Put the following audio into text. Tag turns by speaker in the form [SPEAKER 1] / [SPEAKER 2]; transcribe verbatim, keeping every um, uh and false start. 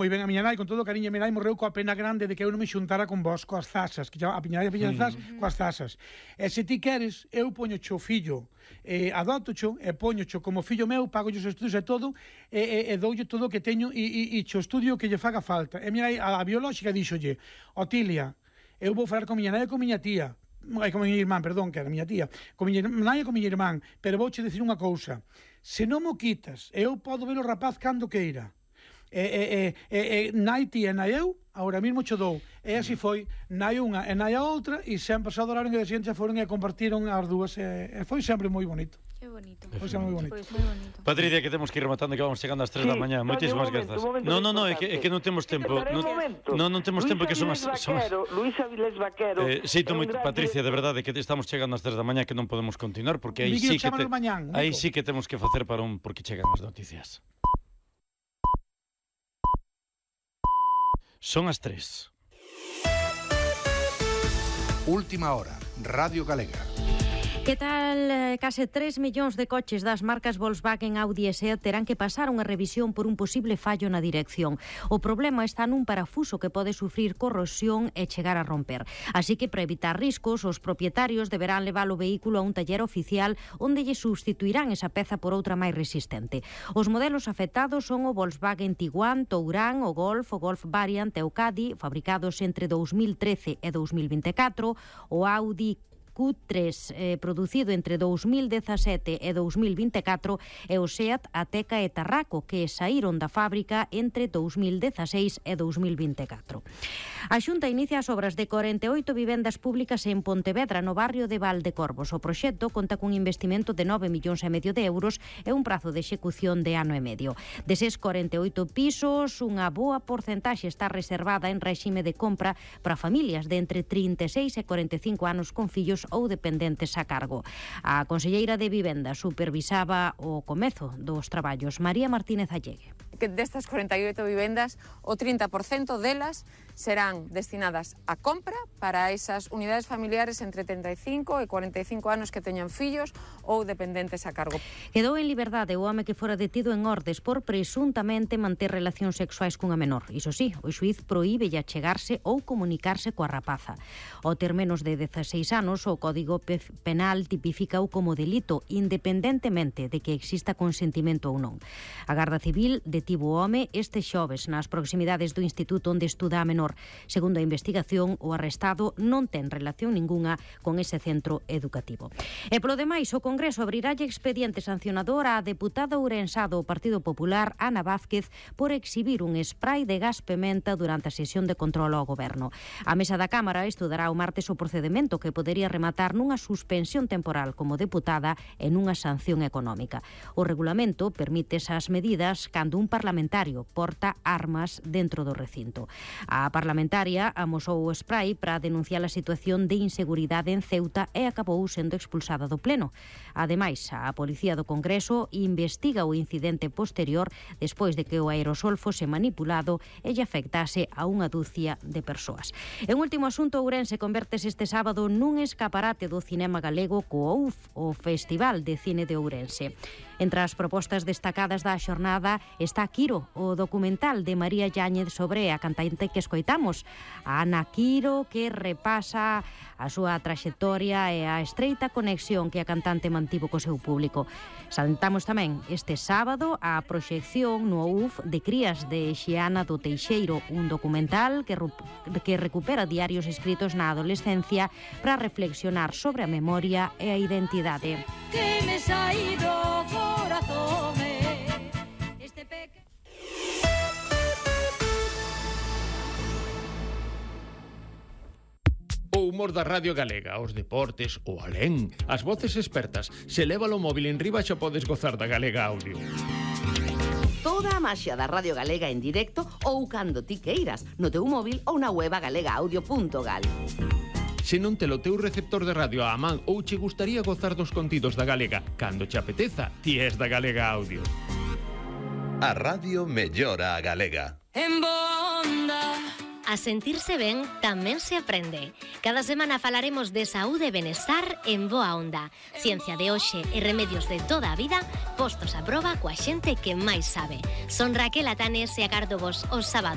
[SPEAKER 1] Moi ben, a miña nai, con todo o cariño, a miña nai morreu coa pena grande de que eu non me xuntara con vos, coas zasas, que a miña nai piña zas, mm. coas zasas. E se ti queres, eu poño cho fillo, eh, adopto cho, e poño cho como fillo meu, pago os estudios e todo, e, e, e doulle todo o que teño, e, e, e cho estudio que lle faga falta. E a miña nai, a, a biolóxica, díxolle, Otilia, eu vou falar con miña nai e con miña tía, e con miña irmán, perdón, que era miña tía, con miña nai e con miña irmán, pero vouche dicir unha cousa, se non mo quitas, eu podo ver o rapaz cando queira. E, e, e, e, e nai ti e nai eu agora mesmo cho dou, e así foi nai unha e nai a outra, e sempre se adoraron e de xente foron e compartiron as dúas, e, e foi sempre moi bonito.
[SPEAKER 2] Que bonito.
[SPEAKER 1] Foi sempre moi bonito.
[SPEAKER 2] Pues moi bonito.
[SPEAKER 3] Patricia, que temos que ir rematando, que vamos chegando ás tres
[SPEAKER 4] Sí,
[SPEAKER 3] da mañá. Moitísimas grazas. Non, non, non, é que, é que non temos tempo. Non, non, non temos tempo, que son as...
[SPEAKER 4] Luís Avilés Vaquero.
[SPEAKER 3] Eh, Sito moi, Patricia, de verdade, que estamos chegando ás tres da mañá, que non podemos continuar, porque aí sí que te, aí sí que temos que facer para un, porque chegan as noticias. Son as tres.
[SPEAKER 5] Última hora, Radio Galega.
[SPEAKER 6] Que tal? Case tres millóns de coches das marcas Volkswagen, Audi e Seat terán que pasar unha revisión por un posible fallo na dirección. O problema está nun parafuso que pode sufrir corrosión e chegar a romper. Así que, para evitar riscos, os propietarios deberán levar o vehículo a un taller oficial onde lle substituirán esa peza por outra máis resistente. Os modelos afectados son o Volkswagen Tiguan, Touran, o Golf, o Golf Variant e o Caddy, fabricados entre dous mil trece e dous mil vinte e catro, o Audi Q tres, eh, producido entre dous mil dezasete e dous mil vinte e catro, e o Seat Ateca e Tarraco, que saíron da fábrica entre dous mil dezaseis e dous mil vinte e catro. A Xunta inicia as obras de corenta e oito vivendas públicas en Pontevedra, no barrio de Valdecorvos. O proxecto conta cun investimento de nove millóns e medio de euros e un prazo de execución de ano e medio. Deses corenta e oito pisos, unha boa porcentaxe está reservada en réxime de compra para familias de entre trinta e seis e corenta e cinco anos con fillos ou dependentes a cargo. A conselleira de Vivenda supervisaba o comezo dos traballos, María Martínez Allegue.
[SPEAKER 7] Que destas corenta e oito vivendas, o trinta por cento delas serán destinadas a compra para esas unidades familiares entre trinta e cinco e cuarenta e cinco anos que teñan fillos ou dependentes a cargo.
[SPEAKER 6] Quedou en liberdade o home que fora detido en Ordes por presuntamente manter relacións sexuais cunha menor. Iso sí, o xuíz prohíbe achegarse ou comunicarse coa rapaza. Ao ter menos de dezaseis anos, o Código Penal tipificou como delito independentemente de que exista consentimento ou non. A Garda Civil detivo o home este xoves nas proximidades do instituto onde estuda a menor. Segundo a investigación, o arrestado non ten relación ningunha con ese centro educativo. E polo demais, o Congreso abrirálle expediente sancionador á deputada ourensá do Partido Popular, Ana Vázquez, por exhibir un spray de gas pementa durante a sesión de control ao Goberno. A mesa da Cámara estudará o martes o procedemento que podería rematar nunha suspensión temporal como deputada e nunha sanción económica. O regulamento permite esas medidas cando un parlamentario porta armas dentro do recinto. A parlamentaria amosou o spray para denunciar a situación de inseguridade en Ceuta e acabou sendo expulsada do Pleno. Ademais, a Policía do Congreso investiga o incidente posterior despois de que o aerosol fose manipulado e lle afectase a unha dúcia de persoas. En último asunto, Ourense convertese este sábado nun escaparate do cinema galego co O U F, o Festival de Cine de Ourense. Entre as propostas destacadas da xornada está Quiro, o documental de María Yáñez sobre a cantante que escoitamos, a Ana Quiro, que repasa a súa traxectoria e a estreita conexión que a cantante mantivo co seu público. Salentamos tamén este sábado a proxección no U F de Crías de Xiana do Teixeiro, un documental que, que recupera diarios escritos na adolescencia para reflexionar sobre a memoria e a identidade. Que me saído corazón este peque...
[SPEAKER 8] O humor da Radio Galega, os deportes, o alén, as voces expertas. Se leva o móvil en riba xa podes gozar da Galega Audio.
[SPEAKER 9] Toda a maxia da Radio Galega en directo ou cando ti queiras, no teu móvil ou na web galegaaudio punto gal.
[SPEAKER 8] Se non te lo teu receptor de radio á man ou che gustaría gozar dos contidos da Galega, cando che apeteza, ti és da Galega Audio.
[SPEAKER 10] A radio mellora a Galega.
[SPEAKER 11] En Bonda. A sentirse ben tamén se aprende. Cada semana falaremos de saúde e benestar en Boa Onda. Ciencia de hoxe e remedios de toda a vida postos a proba coa xente que máis sabe. Son Raquel Atanes e agardo vos os sábados